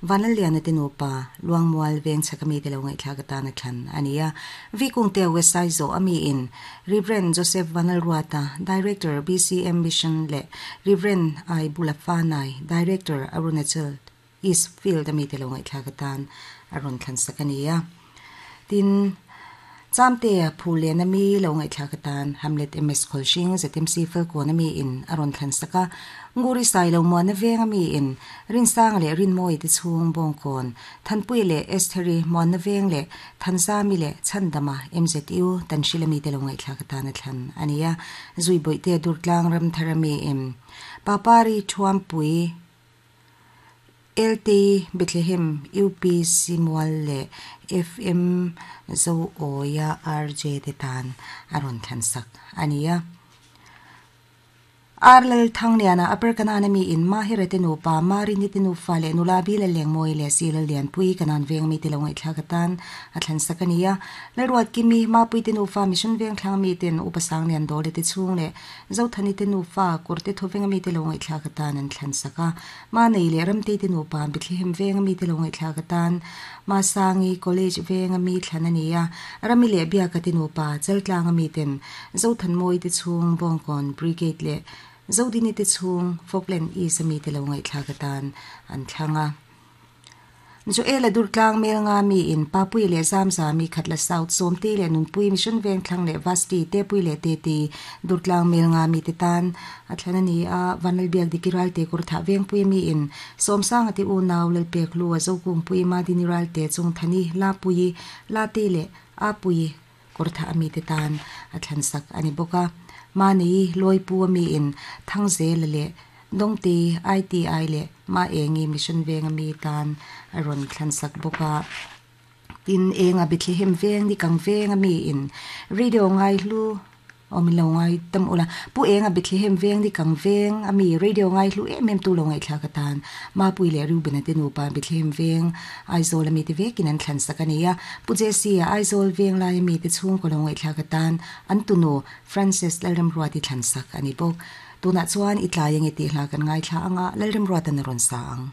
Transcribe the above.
Vanlalliana te nupa Luangmual veng chhaka mite lo ngaihthlak atana thlan a ni a. Vikungte West Aizaw a miin Rev. Joseph Vanlalruata, Director, BCM Mission leh Rev. I Bulafanai, Director, Arunachal East Field a mite lo ngaihthlak atan a rawn thlan sak a ni a. Tin, Chamtea Phulen a mi lo ngaihthlak atan Hamlet MS Khawlhring ZMC Falkawn a mi in a rawn thlan sak a. Nguri Sailo Muana Veng a mi in Rinsanga leh Rinmawii te chhung Bawngkawn, Thanpuia leh Estheri Muanna Veng leh Thanzami leh Chhandama MZU Tanhril a mite lo ngaihthlak atan a thlan a ni a. Zuibawihte Durtlang Ramthar a mi in Papari Thuampui LT Bethlehem UPC Mual leh FM Zoawia RJ te tan a rawn thlan sak a ni a. Ar Lal Thangliana Upper Kanan a mi in Mahira te nupa, Marini te nufa leh nula Bila Lengmawi leh Si Lallianpui Kanan veng mite lo ngaihthlak atan a thlan sak a ni a. Lalruatkimi, Mapui te nufa Mission Vengthlang miten Upa Sanglian Dawle te chhung leh Zothani te nufa Kawrte Thawvenga mite lo ngaihthlak atan an thlan sak a. Manei leh Ramtei te nupa Bethlehem venga mite lo ngaihthlak atan Masangi College venga mi thlan a ni a. Rami leh Biaka te nupa Chaltlanga miten Zothanmawi te chhung Bawngkawn Brigade leh Zodini te chhung Falkland East a mite lo ngaihthlak atan an thlang a. Joel-a Durtlang mel nga mi in Papui leh Zamzami Khatla South Sawmtei leh Nunpui Mission Vengthlang leh Vasti Tepui leh Teti Durtlang mel nga mi te tan a thlan a ni a, Vanlalbiak Diki Ralte Kawrthah Vengpui mi in Sawmsanga te unau Lalpek Lu a Zokungpui Madini Ralte Chungthani Lapuii Latei leh Apuii Kawrthah a mite tan a thlan sak a ni bawk a. Mahni Lawipu a mi in Thangzela leh Dawngtei ITI leh Maengi Mission Veng a mi tan a rawn thlan sak bawk a. Tin, Enga Bethlehem Veng Nikang Veng a mi in Radio Ngaihlu Aw min lo ngai tam ula. Pu Enga Bethlehem Veng Nikang Veng a mi Radio Ngaihlu em em tu lo ngaihthlak atan Mapui leh Reuben-a te nupa Bethlehem Veng Aizawl a mite vekin an thlan sak a ni a. Pu Jesse-a Aizawl veng laia mite chhungkaw lo ngaihthlak atan an tunu Frances Lalremruati thlan sak a ni bawk. Tunah chuan i tlai ange tih hla kan ngaithla anga Lalremruatan a rawn sa ang.